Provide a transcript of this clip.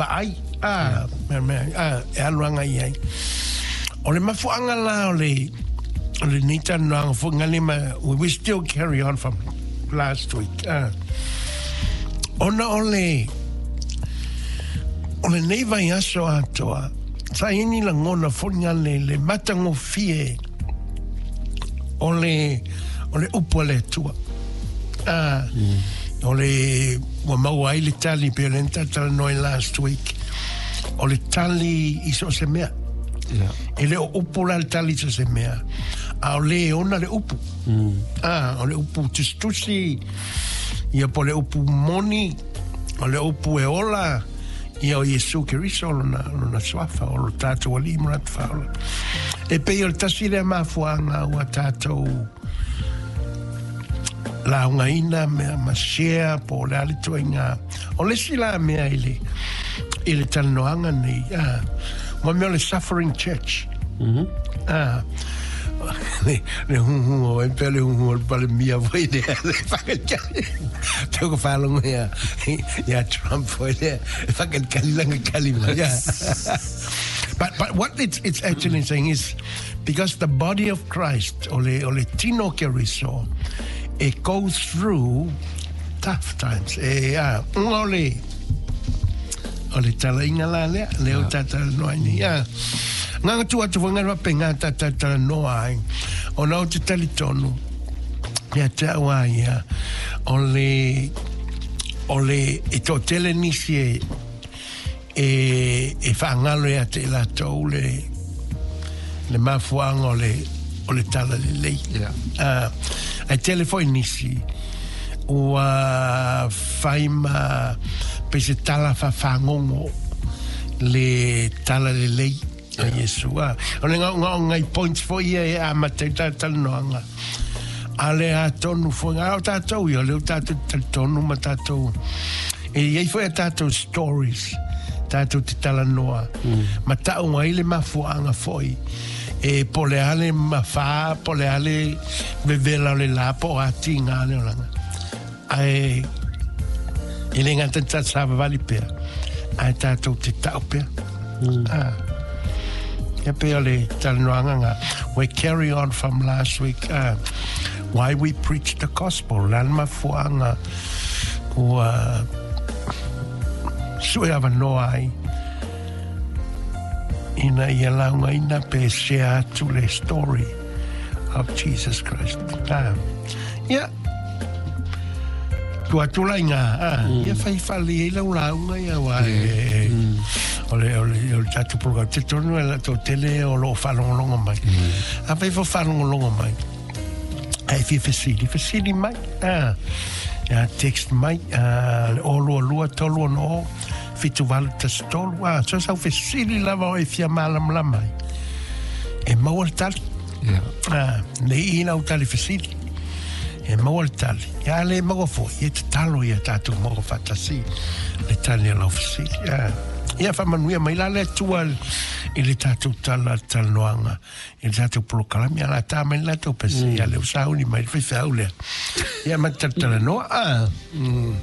vaai, a, mea, mea, a, e alu agai i ai. O le mafuaaga la o le, o lenei talanoaga foi ngale ma, we still carry on from last week, a. Ona o le, o lenei vaiaso atoa, sa i ai ni lagona foi ngale le matagofie o le, o le upu a le Atua. A, o le, ua maua ai le tali pei o lea na talatalanoa ai last week, o le tali i so o se mea. Yeah. E le o upu la le tali i so o se mea, a o le e ona le upu. A, o le upu tusitusi, ia po o le upu moni, o le upu e ola, ia o Iesu Keriso lona, lona suafa, o lo tātou Alii ma lo tatou Faaola. E pei o le tasi lea mafuaaga ua tātou laugaina mea ma share po o le a le ituaiga. O le isi la mea i le, i le talanoaga nei, a, mo mea o le suffering church. A, le, le huhu o e pea le huhu o le palemia foi lea, le whakalikali. Tau ka whālongo ia, ia Trump foi lea, e whakalikali langa kali mai. Yeah. But what it's actually saying is, because the body of Christ, o le, o le tino o Keriso, it goes through tough times. E, a, unga o le, o le talaiga la lea, lea o talanoa ai nei. A, nganga tu atu foi ngā wape ngā tā talanoa ai, ona o te talitonu, ia te au a ia, o le, o le, e toatele nisi e, e, e faagalo ia te i latou le, le mafuaaga o le, o le talalelei. Yeah. Ae tele foi nisi ua fai ma pei se tala faafagogo le talalelei a Iesu. A, o le gaogaoga i points foi ia e amata ai le talanoaga. A le atonu foi, a o tatou ia, o lea ua tatou talitonu ma tatou, e i ai foi a tatou stories, tatou te talanoa, ma tau ai le mafuaaga foi, e po o le a le mafā, po o le a le vevela o le la, po o a tiga le olaga. Ae e le gata i ta savavali pea, ae tatou te tau pea. Ah. Ia pei o le talanoaga nga, we carry on from last week, why we preach the gospel, le a le mafuaaga ua sue avanoa ai ina ia laugaina pe share atu le story of Jesus Christ. Ah. Ia, Tua atu la i ngā, a, ia whai whale i lau lauga ia wā, e, o le, o le, o le tātou program, te tonu e la tō tele o loo whaalongolongo mai. A whai fo whaalongolongo mai, ai fia fesili, fesili mai, a, a text mai, a, le o lua lua, tolu ono o, 7813, a, so sau fesili lava o e fia mālamalama ai. E maua le tali. Yeah. A, nei i lau tali fesili. E maua le tali. Ia le maua foi, e tatalo ia tātou maua faatasi le tali o lau fesili. Ia, ia faamanuia mai la le Atua i le tātou tala talanoaga, i le tātou polokalame, a la tā mai le latou pese, ia lea ua sauni mai le faifeau lea. Ia ma talatalanoa. Ah, mm.